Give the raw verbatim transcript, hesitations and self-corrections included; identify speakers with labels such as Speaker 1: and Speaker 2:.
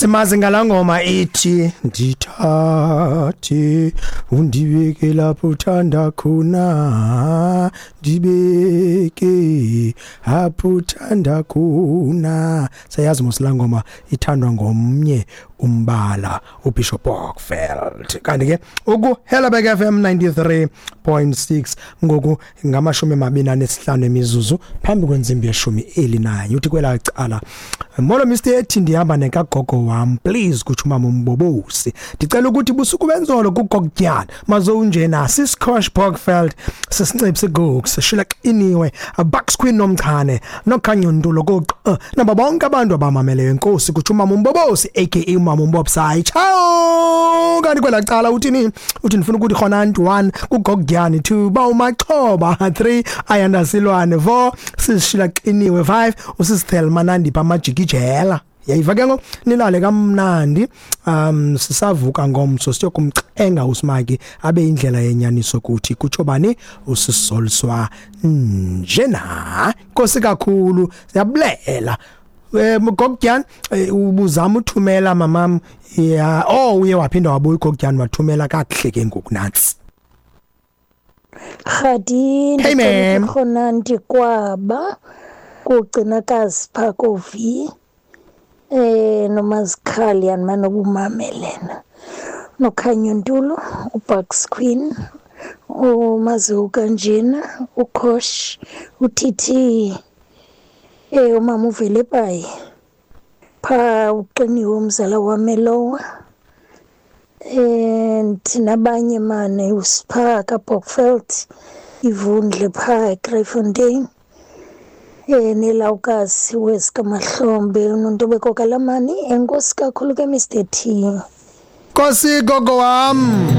Speaker 1: Simazi ngalangoma ithi ndithathe undibeke lapho uthanda khona, ndibeke apho uthanda khona. Sayazi mos laa ngoma ithandwa ngomnye umbala, uBishop Bockfeld. Kanti ke uku Helderberg F M ninety-three point six ngoku ngamashumi amabini anesihlanu emizuzu phambi kwentsimbi yeshumi elinanye. Uthi kwelaa cala, molo Mister Ethi, ndihamba nekagogo wam, please, kutsho umama uMbobosi. Ndicela ukuthi busuku benzolo kugokutyana mazowunjena sisikosh Bockfeld sisincipsi Gooks Sheila Qiniwe Bucks Queen Nomchane nokhanyo Ntulo koq nabo bonke abantu abamameleyo. Enkosi, kutsho umama uMbobosi aka umama uMbobsayi. Ciao. Kanti kwelaa cala uthini? Uthi ndifuna ukuthi khona one kugokutyana, two ba uMaxhoba, three Ayanda Silwane, four sisishila Qiniwe, five usisithelma Nandipha amajikijela. Yayiva ke ngoku, nilale kamnandi. Um sisavuka ngomso siyokumcenga uSmaki abe indlela yenyaniso kuthi kutsho bani usisoliswa njena. Nkosi kakhulu, siyabulela. Eh Gokutyana ubuzama uthumela mamam ya, oh uye waphinda wabuya uGokutyana wathumela kakuhle ke ngoku nantsi.
Speaker 2: Khadi,
Speaker 1: Hey, ma'am.
Speaker 2: Khona ndikwaba kugcinakazi pha kovi eh nomazikhali yanimane ubumamelena nokhanyo Ntulo uBucks Queen umaziwu kanjena uKhosh uTT eh umama uvele bayi pha uqiniwe umzala wamelowa and nabanye mane usipha kaBockfeld ivundle pha eGreyfontein eh nelawukazi wesikaMahlombe uNontobeko Kalamani. Enkosi kakhulu ke Mister T.
Speaker 1: Nkosi gogo wam.